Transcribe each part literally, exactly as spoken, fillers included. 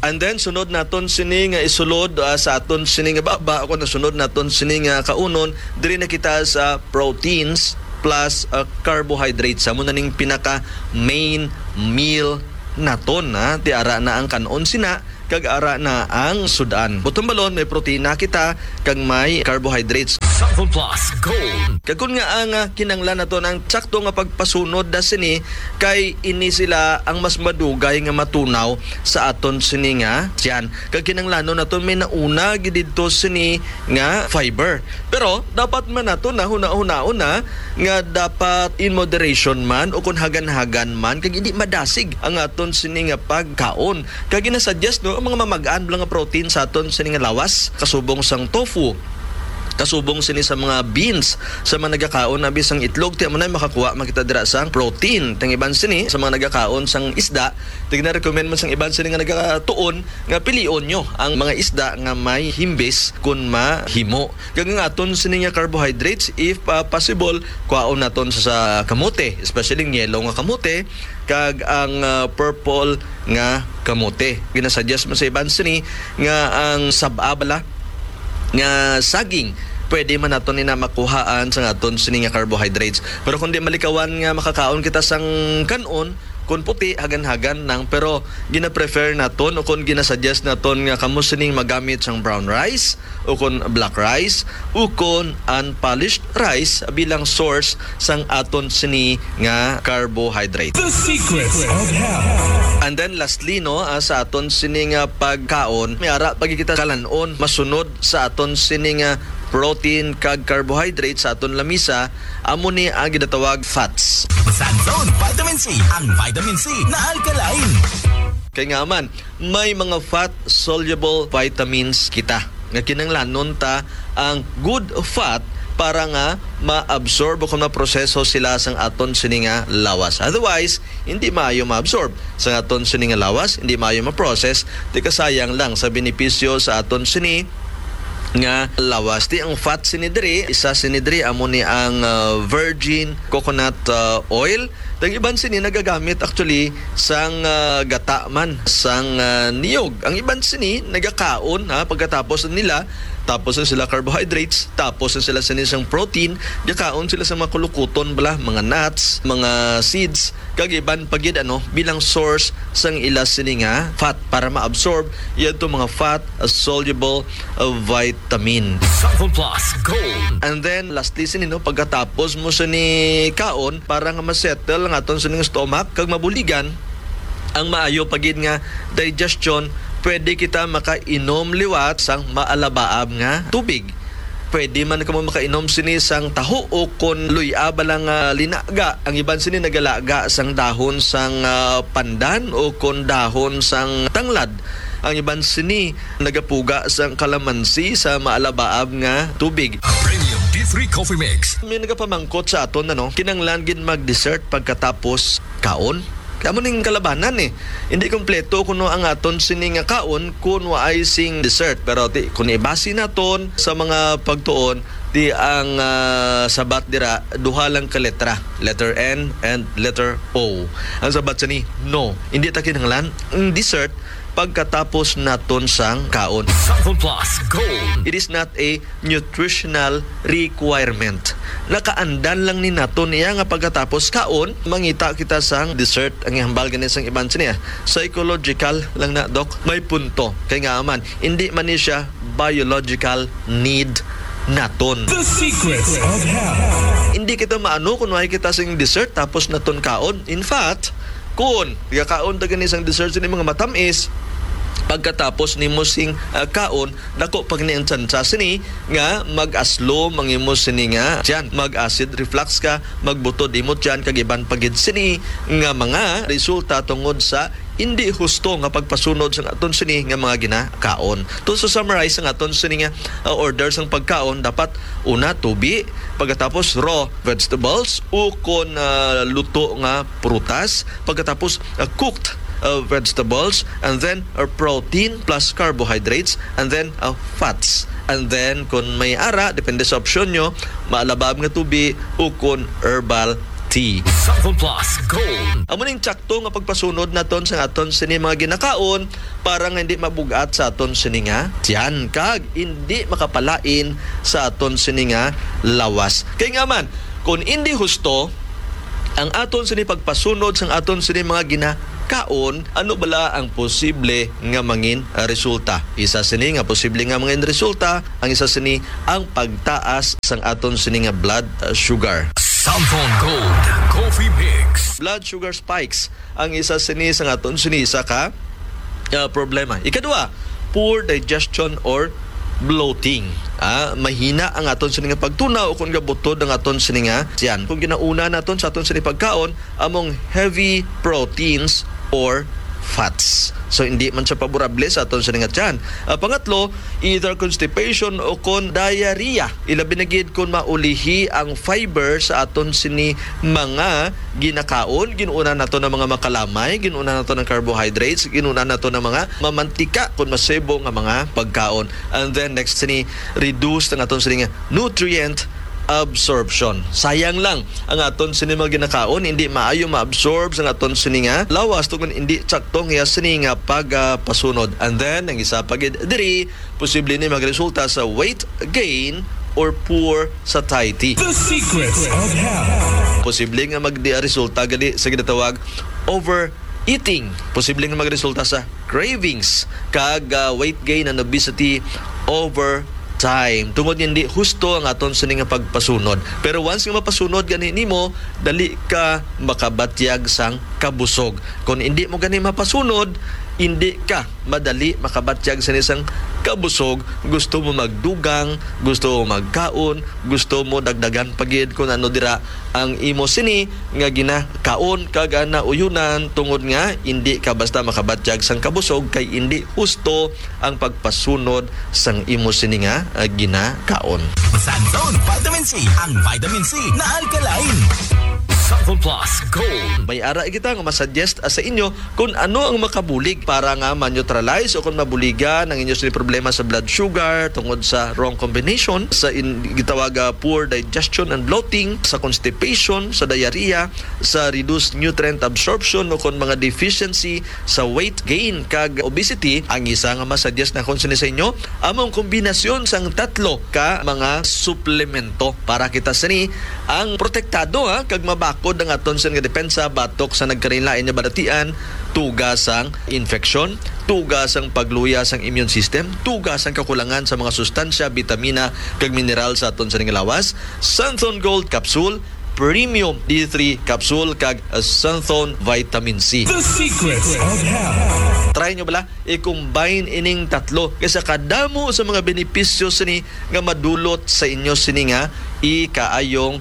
And then, sunod naton sini nga isulod, ah, sa aton sini nga baba, o kung sunod naton sini nga kaunon, diri na kita sa proteins plus, ah, carbohydrates. Amo na ning pinaka main meal naton, ha. Ti ara na ang kan-on sina, kag ara na ang sud-an. Buot silingon, may protina kita, kag may carbohydrates. Sample Plus Gold. Kag kun nga ang, ah, kinahanglan naton ang sakto nga pagpasunod da sini, kay ini sila ang mas madugay nga matunaw sa aton sini nga tiyan. Kag kinahanglanon naton may nauna gid didto sini nga fiber. Pero dapat man naton na hunahunaon na nga dapat in moderation man o kung hagan-hagan man, kag hindi madasig ang aton sini nga pagkaon. Kag ginasuggest, no, ang mga mamag-an lang nga protein sa aton sini nga lawas, kasubong sang tofu, kasubong sini sa mga beans, sa mga nagakaon abi sang itlog, ti amo na makakuha man kita dira sang protein. Tang iban sini sa mga nagakaon sang isda, ti gina-recommend man sang iban sini nga nagatuon nga pilion nyo ang mga isda nga may himbis kun mahimo. Kag ang aton sini nga carbohydrates, if, ah, possible, kuhaon naton sa, sa kamote, especially ang yellow nga kamote, kag ang, ah, purple nga kamote. Ginasuggest man sa iban sini nga ang sab-a bala nga saging, pwede man naton ina makuhaan sa aton sini nga carbohydrates. Pero kung di malikawan nga makakaon kita sang kan-on, kung puti, hagan-hagan lang, pero gina-prefer naton o kung ginasuggest naton nga kamo sining magamit sang brown rice, o kon black rice, o kon unpolished rice bilang source sang aton sini nga carbohydrate. The Secrets of Health. And then lastly, no, ah, sa aton sini nga pagkaon, may ara pa gid kita kalan-on masunod sa aton sini nga protein kag carbohydrate sa aton lamisa, amo ni ang ginatawag fats. Sa Zone Vitamin C, ang vitamin C na alkaline. Kay nga man, may mga fat-soluble vitamins kita nga kinahanglanon ta ang good fat para nga ma-absorb o kung maproseso sila sang aton sini nga lawas. Otherwise, hindi maayo ma-absorb sang aton sini nga lawas, hindi maayo ma-process, ti kasayang lang sa benepisyo sa aton sini nga lawas. Ti ang fat sini diri, isa sini diri amo ni ang, ah, virgin coconut, ah, oil. Ang iban sini nagagamit actually sang, ah, gata man sang, ah, niyog. Ang iban sini nagakaon, ha, pagkatapos nila, tapos na sila carbohydrates, tapos na sila sini sang protein, gakaon sila sa mga kulukuton bala, mga nuts, mga seeds, kag iban pa gid, ano, bilang source sang ila sini nga fat para ma-absorb yadto mga fat, ah, soluble, ah, vitamin. Sample Plus Gold. And then lastly sini, no, pagkatapos mo sini kaon, para nga ma-settle ang aton sining stomach kag mabuligan ang maayo pa gid nga digestion, pwede kita makainom liwat sang maalabaab nga tubig. Pwede man kamo makainom sini sang taho o kon luy-a bala nga linaga. Ang iban sini nagalaga sang dahon sang, ah, pandan o kon dahon sang tanglad. Ang iban sini nagapuga sang kalamansi sa maalabaab nga tubig. Premium D three Coffee Mix. May nagapamangkot sa aton, ano, kinahanglan gid mag-dessert pagkatapos kaon? Kamo ning kalabanan, eh. Hindi kompleto kuno ang aton sini nga kaon kun waay sing dessert. Pero ti, kung ibasi naton sa mga pagtuon, ti ang, ah, sabat dira, duha lang ka letra, letter N and letter O. Ang sabat sini, no. Hindi ta kinahanglan ang dessert pagkatapos naton sang kaon. Sample Plus Gold. It is not a nutritional requirement. Nakaandan lang ni naton niya nga pagkatapos kaon, mangita kita sang dessert. Ang ihambal gani sang iban sini, ah, psychological lang na, Doc. May punto. Kay nga man, hindi man ni siya biological need naton. The Secrets of Health. Hindi kita maano kung waay kita sing dessert tapos naton kaon. In fact, kung gakaon ta gani sang dessert sini mga matamis, pagkatapos nimo sing, ah, kaon, dako pa gani ang tsansa sini nga mag-aslom ang imo sini nga tiyan, mag-acid reflux ka, magbutod imo tiyan, kag iban pa gid sini nga mga resulta tungod sa hindi husto nga pagpasunod sang aton sini nga mga ginakaon. To, so summarize ang aton sini nga, ah, order sang pagkaon, dapat una tubi, pagkatapos raw vegetables, o kon, ah, luto nga prutas, pagkatapos, ah, cooked, ah, vegetables, and then, ah, protein plus carbohydrates, and then, ah, fats. And then, kung may ara, depende sa opsyon nyo, maalabab nga tubi o kon herbal Santon Plus Gold. Amo ning tsakto nga pagpasunod naton sa aton sini mga ginakaon para nga hindi mabugat sa aton sini nga tiyan kag hindi makapalain sa aton sini nga lawas. Kay nga man, kung hindi husto ang aton sini pagpasunod sang aton sini mga ginakaon, ano bala ang posible nga mangin, ah, resulta? Isa sini nga posible nga mangin resulta, ang isa sini ang pagtaas sang aton sini nga blood, ah, sugar. Santon Gold Coffee Mix. Blood sugar spikes ang isa sini sa aton sini isa ka, ah, problema. Ikadua, poor digestion or bloating. Ah, mahina ang aton sini nga pagtunaw o kung gabutod ang aton sini nga tiyan. Kung ginauna naton sa aton sini pagkaon, among heavy proteins or fats. So, hindi man siya paborable sa aton sini nga tiyan. Ah, pangatlo, either constipation o kon diarrhea. Ilabi na gid kon maulihi ang fiber sa aton sini mga ginakaon. Ginuuna nato ng mga makalamay, ginuuna nato ng carbohydrates, ginuuna nato ng mga mamantika kon masibo nga mga pagkaon. And then next sini, reduce ang aton sini nga nutrient absorption. Sayang lang ang aton sini mga ginakaon, hindi maayo ma-absorb sa aton sini nga lawas tungod hindi sakto ang iya sini nga pagpasunod. And then ang isa pa gid diri, posible ni magresulta sa weight gain or poor satiety. The Secrets of Health. Posible nga magresulta gali sa ginatawag overeating. Posible nga magresulta sa cravings kag, ah, weight gain and obesity over time. Tungod nga hindi husto ang aton sini nga pagpasunod. Pero once nga mapasunod gani nimo, dali ka makabatyag sang kabusog. Kung hindi mo gani mapasunod, hindi ka madali makabatyag sini sang kabusog. Gusto mo magdugang, gusto mo magkaon, gusto mo dagdagan pa gid kung ano dira ang imo sini nga ginakaon kag, ah, nauyonan, tungod nga hindi ka basta makabatyag sang kabusog kay hindi husto ang pagpasunod sang imo sini nga, ah, ginakaon. Santon Vitamin C, ang vitamin C na alkaline. Santon Plus Gold. May ara kita nga masuggest, ah, sa inyo kung ano ang makabulig para nga ma-neutralize o kung mabuligan ang inyo sini problema sa blood sugar tungod sa wrong combination sa in-, gitawag, ah, poor digestion and bloating, sa constipation, sa diarrhea, sa reduced nutrient absorption o kung mga deficiency sa weight gain kag obesity. Ang isa nga masuggest nakon sini sa inyo, amo ang kombinasyon sang tatlo ka mga suplemento para kita sini ang protektado, ha, kag mabakod ang aton sini nga depensa batok sa nagkalainlain nga balatian, tuga sang infeksyon, tuga sang pagluya sang immune system, tuga sang kakulangan sa mga sustansya, bitamina, kag mineral sa aton sini nga lawas. Santon Gold Capsule, Premium D three Capsule, kag Santon Vitamin C. The Secrets of Health. Try nyo bala, i-combine ining tatlo kay sa kadamo sa mga benepisyo sini nga madulot sa inyo sini nga ikaayong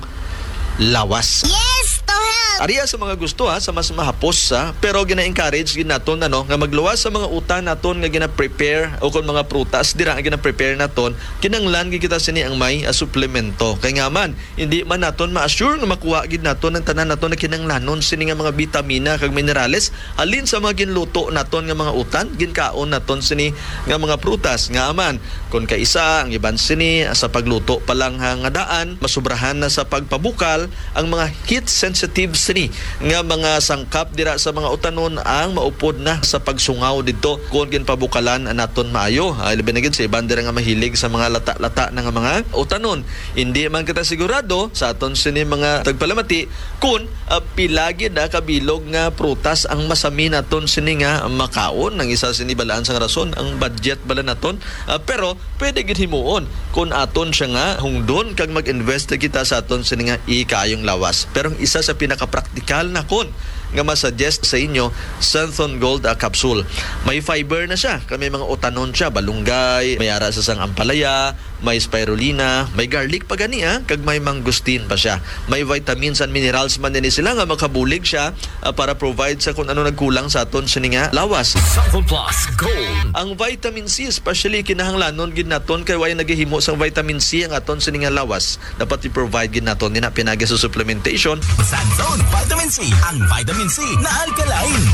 lawas. Yes, to help. Ariya sa mga gusto, ha, sa mas mahapos, ha, pero gina-encourage gid naton, ano, nga magluwas sa mga utan naton nga gina-prepare o kon mga prutas dira nga gina-prepare naton, kinahanglan gid kita sini ang may, ah, suplemento. Kay nga man, hindi man naton ma-assure nga makuha gid naton ang tanan naton nga kinahanglanon sini nga mga bitamina kag minerales halin sa mga ginluto naton nga mga utan, ginkaon naton sini nga mga prutas. Nga man, kon kaisa, ang iban sini sa pagluto pa lang ha, nga daan, masubrahan na sa pagpabukal ang mga heat sensitive sini nga mga sangkap dira sa mga utanon ang maupod na sa pagsungaw didto kon ginpabukalan naton maayo. Ah, labi na gid sa iban dira nga mahilig sa mga lata-lata na nga mga utanon. Hindi man kita sigurado sa aton sini mga tagpalamati kon, ah, pila gid, ah, kabilog nga prutas ang masami naton sini nga makaon. Ang isa sini balaan sang rason, ang budget bala naton. Ah, pero pwede gid himuon kon aton siya nga hungdon kag mag-invest kita sa aton sini nga ikaayong lawas. Pero ang isa sa pinakapraktikal nakon nga masuggest sa inyo, Santhon Gold, ah, Capsule. May fiber na siya, kag may mga utanon siya, balunggay, may ara sa sang ampalaya, may spirulina, may garlic pa gani, ah, kag may mangosteen pa siya. May vitamins and minerals man din sila nga makabulig siya, ah, para provide sa kung ano nagkulang sa aton sini nga lawas. Santhon Plus Gold. Ang vitamin C, especially, kinahanglanon gid naton kay way nagahimo sang vitamin C ang aton sini nga lawas. Dapat i-provide gid naton nina pinagi sa supplementation. Santhon Vitamin C, ang vitamin C na alkaline.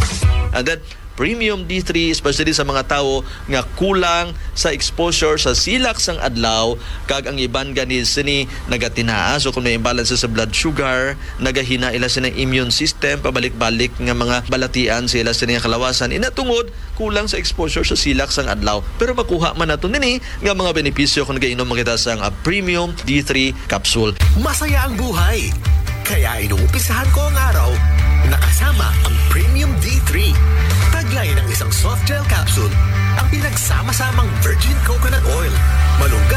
And then, Premium D three, especially sa mga tawo nga kulang sa exposure sa silak sang adlaw, kag ang iban gani sini nagatinaas o kung may imbalance sa blood sugar, nagahina ila sini immune system, pabalik-balik nga mga balatian sa ila sini nga kalawasan. Ina tungod kulang sa exposure sa silak sang adlaw. Pero makuha man nato nini nga mga benepisyo kung nagainom kita sang, ah, Premium D three capsule. Masaya ang buhay. Kaya inumpisahan ko ang araw nakasama ang Premium D three. Taglay ng isang soft gel capsule ang pinagsama-samang virgin coconut oil, malunggay